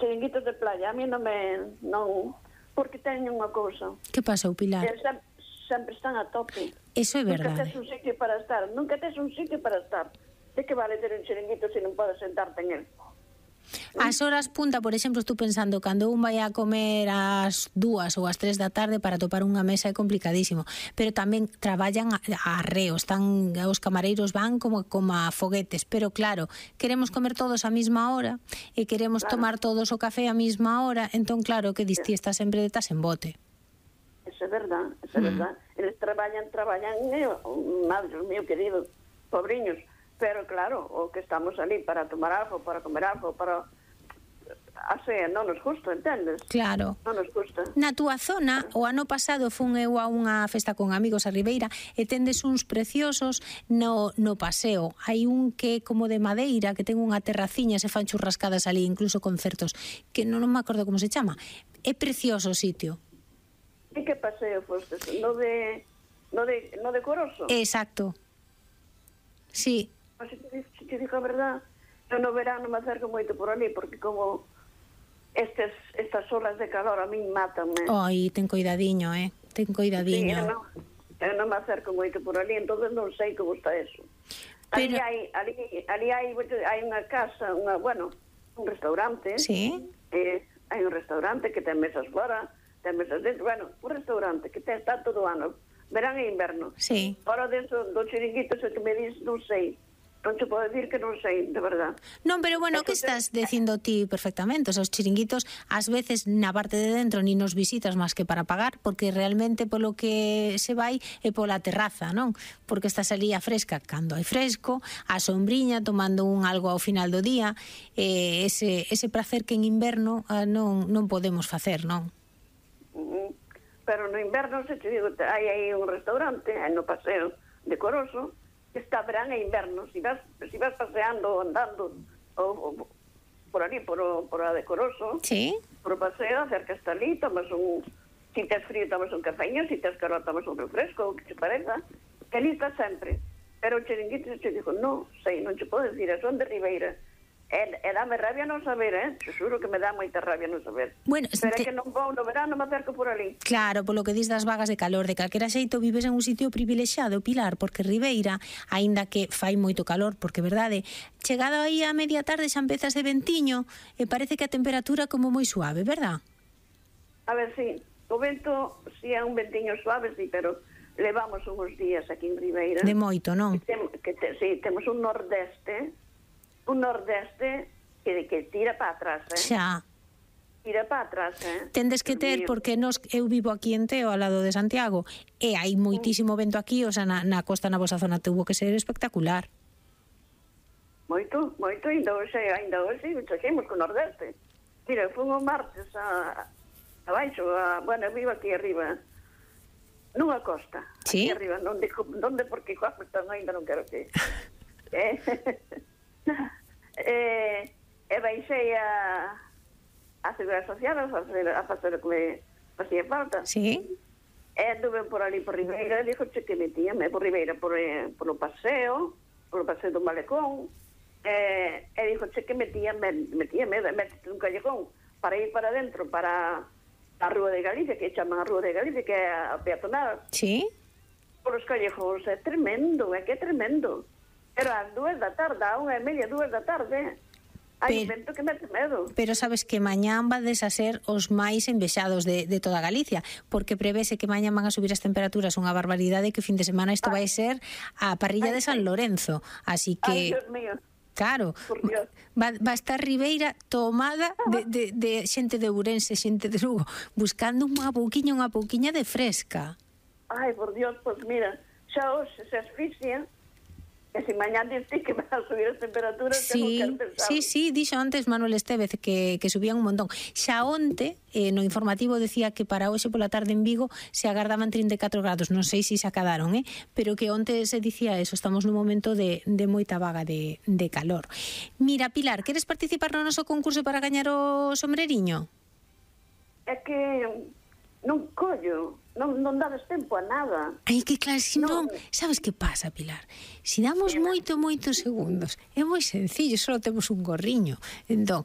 chiringuitos de playa, a mí non me... non, porque teñen unha cousa. Que pasou, Pilar? Sempre están a tope. Eso é verdade. Nunca tes un sitio para estar. De que vale ter un chiringuito se non podes sentarte en él? As horas punta, por exemplo, estou pensando, cando un vai a comer ás 2 ou ás 3 da tarde para topar unha mesa é complicadísimo, pero tamén traballan a reo, están, os camareiros van como a foguetes, pero claro, queremos comer todos a mesma hora e queremos tomar todos o café a mesma hora, entón claro, que distí está sempre detas en bote. Eso é verdad, verdad. Eles traballan, madre mío querido, pobriños, pero claro, o que estamos ali para tomar algo, para comer algo, para... Así, non nos gusta, entendes? Claro. Non nos gusta. Na túa zona, o ano pasado fun eu a unha festa con amigos a Ribeira e tendes uns preciosos no paseo. Hai un que é como de madeira, que ten unha terraciña, se fan churrascadas ali, incluso concertos, que non me acordo como se chama. É precioso o sitio. E que paseo fostes? No de Coroso? Exacto. Sí. Se te digo a verdad, eu no verano me acerco moito por ali, porque como estas olas de calor a min mátanme. Ai, ten coidadiño, ten coidadiño. Sí, eu non me acerco moito por ali, entonces non sei como está eso. Pero... Ali hai unha casa, un restaurante. Sí. Hai un restaurante que ten mesas fora, ten mesas dentro, un restaurante que está todo ano, verán e inverno. Sí. Fora deso, do chiringuito, se que me dis, non sei. Non te podo decir que non sei, de verdad. Non, pero bueno, que estás dicindo ti perfectamente. Os chiringuitos, ás veces, na parte de dentro, ni nos visitas máis que para pagar, porque realmente polo que se vai é pola terraza, non? Porque estás ali a fresca, cando hai fresco, a sombriña, tomando un algo ao final do día, ese placer que en inverno non podemos facer, non? Pero no inverno, se te digo, hai aí un restaurante, no paseo de Coroso, que está verán e inverno. Si vas paseando, andando por ali, por a de Coroso, sí, por o paseo, acercas ali, tomas si tes frío, tomas un cafeño, si tes calor, tomas un refresco, o que te pareza, que ali está sempre. Pero o chiringuito te dijo, non sei, non te podo decir, son de Ribeira. E dame rabia non saber, te xuro que me dá moita rabia non saber. Bueno, pero é que non vou no verano, me acerco por ali. Claro, polo que dis das vagas de calor, de calquera xeito vives en un sitio privilexiado, Pilar, porque Ribeira, aínda que fai moito calor, porque verdade, chegado aí a media tarde xa empezas de ventiño e parece que a temperatura como moi suave, verdad? A ver, sí, o vento, si é un ventiño suave, sí, pero levamos uns días aquí en Ribeira. De moito, non? Sí, temos un nordeste que tira para atrás, Xa. Tira para atrás, Tendes que ter, porque eu vivo aquí en Teo, ao lado de Santiago, e hai moitísimo vento aquí, o sea, na costa, na vosa zona, tuvo que ser espectacular. Moito, ainda hoxe, seguimos con o nordeste. Mira, fomos martes abaixo, eu vivo aquí arriba, nunha costa. Sí? Aquí arriba, non digo onde, porque costa ainda non quero que... E baixei a Seguridade Social a facer o que me facía falta. Sí. E anduve por ali por Ribeira, e dixo que metíame por Ribeira polo paseo do Malecón, e dixo que metíame un callejón para ir para dentro, para a Rúa de Galicia, que chaman a Rúa de Galicia, que é a peatonal. Sí. Por os callejóns, é tremendo, que é tremendo. Pero ás 2 da tarde, a 1:30, 2 da tarde, hai un vento que mete medo. Pero sabes que mañán vades a ser os máis envexados de toda Galicia, porque prevese que mañán van a subir as temperaturas unha barbaridade, que fin de semana isto vai ser a parrilla de San Lorenzo. Así que... Ai, Dios mío. Claro, va a estar Ribeira tomada de xente de Ourense, xente de Lugo, buscando unha pouquiña de fresca. Ai, por Dios, pois mira, xa hoxe se asfixia. E se mañán diste que van a subir as temperaturas, sí, sí, dixo antes Manuel Estévez que subían un montón. Xa onte, no informativo decía que para hoxe pola tarde en Vigo se agardaban 34 grados, non sei se acadaron, pero que onte se dicía eso, estamos nun momento de moita vaga de calor. Mira, Pilar, queres participar no noso concurso para gañar o sombreriño? É que non collo, non dades tempo a nada. Ai, que claro, si non, sabes que pasa, Pilar? Si damos moitos segundos, é moi sencillo, só temos un gorriño. Entón,